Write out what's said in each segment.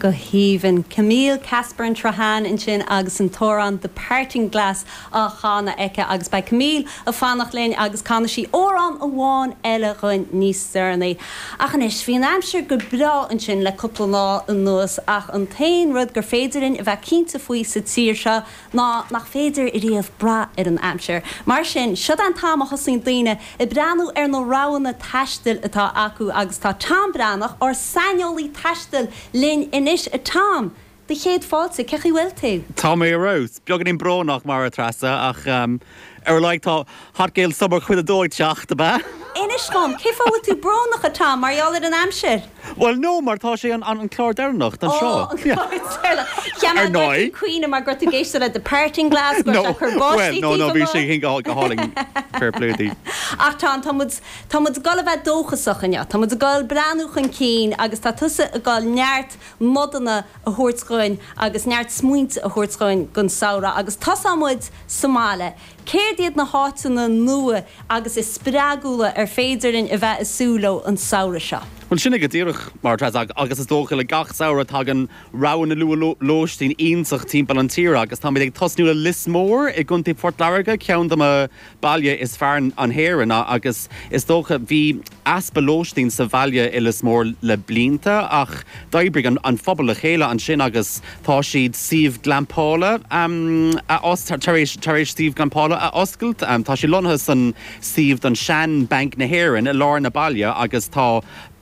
Go haoibhinn. Camille Casburn-Trahan ansin agus an t-amhrán The Parting Glass á chanadh aici agus beidh Camille ag fanacht linn agus canfaidh sí amhrán amháin eile dhuinn níos deireanaí. Ach anois, bhí an aimsir go breá ansin le cúpla lá anuas ach an t-aon rud gur féidir linn a bheith cinnte faoi sa tír seo ná nach féidir riamh brath ar an aimsir. Mar sin, siod é an t-am a thosaíonn daoine ag breathnú ar na roghanna taistil atá acu agus tá Tom Breathnach, ár saineolaí taistil, linn anois. A Tom, do chéad fáilte, cén chaoi bhfuil tú? Tá mé ar fheabhas. Beagáinín brónach, mar a Treasa, ach ar a laghad tá Hot Gael Summer cuid a dó ag teacht, ab ea? Inis dom, cén fáth a bhfuil tú brónach, a Tom, mar gheall ar an aimsir? Bhuel, no, mar tá sé an an clár deireanach don seo. Ó, an clár deireanach. Cheap mé Ar go raibh ndóigh. tú ag caoineadh mar go raibh tú ag éisteacht le The Parting Glass, go raibh No, sé ag cur well, báistí no, taobh no, bhí sé amuigh. go go hálainn. Fair play di. Ach Tom, tá muid, tá muid ag dul a bheith dóchasach inniu. Tá muid ag dul breathnú chun cinn agus tá tusa ag dul neart nodanna a thabhairt dhuinn agus neart smaointe a thabhairt dhuinn don samhradh agus tosóidh muid sa mbaile. Céard iad na háiteanna nua agus is spreagúla ar féidir linn a bheith ag súil leo an samhradh seo? Bhuel, sin é go díreach, mar atá, agus is dócha le gach samhradh tagann roghanna nua lóistín iontach timpeall an tíre agus táimid ag tosnú le Lios Mór i gContae Phort Láirge, ceann de mo baile is fearr in Éirinn agus is dócha bhí easpa lóistín sa bhaile i Lios Mór le blianta ach d'oibrigh an phobal le chéile ansin agus tá siad suíomh glampála a tar éis tar éis suíomh glampála a oscailt. Tá sé lonnaithe san suíomh don sean Banc na hÉireann i lár na baile agus tá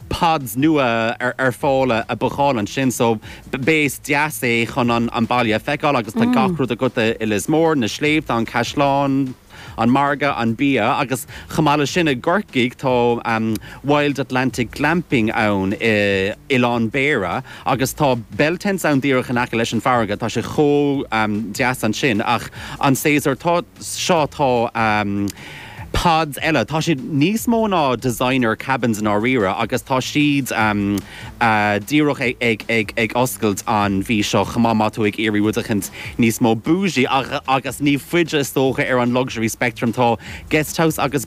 pods nua ar fáil a bookáil ansin so base deas é chun an baile a feiceáil agus tá gach rud agat i Lios Mór, na sléibhte, an caisleán, an margadh, an bia agus chomh maith leis sin i gCorcaigh tá Wild Atlantic Glamping ann i Oileán Béara agus tá bell tents ann díreach in aice leis an farraige, tá sé chomh deas ansin ach an séasúr seo tá pods eile, tá siad níos mó ná designer cabins i ndáiríre agus tá siad díreach ag oscailt an mhí seo chomh maith má tá tú ag iarraidh rud eicínt níos mó bougie agus ní faide is dócha ar an luxury spectrum tá guest house agus.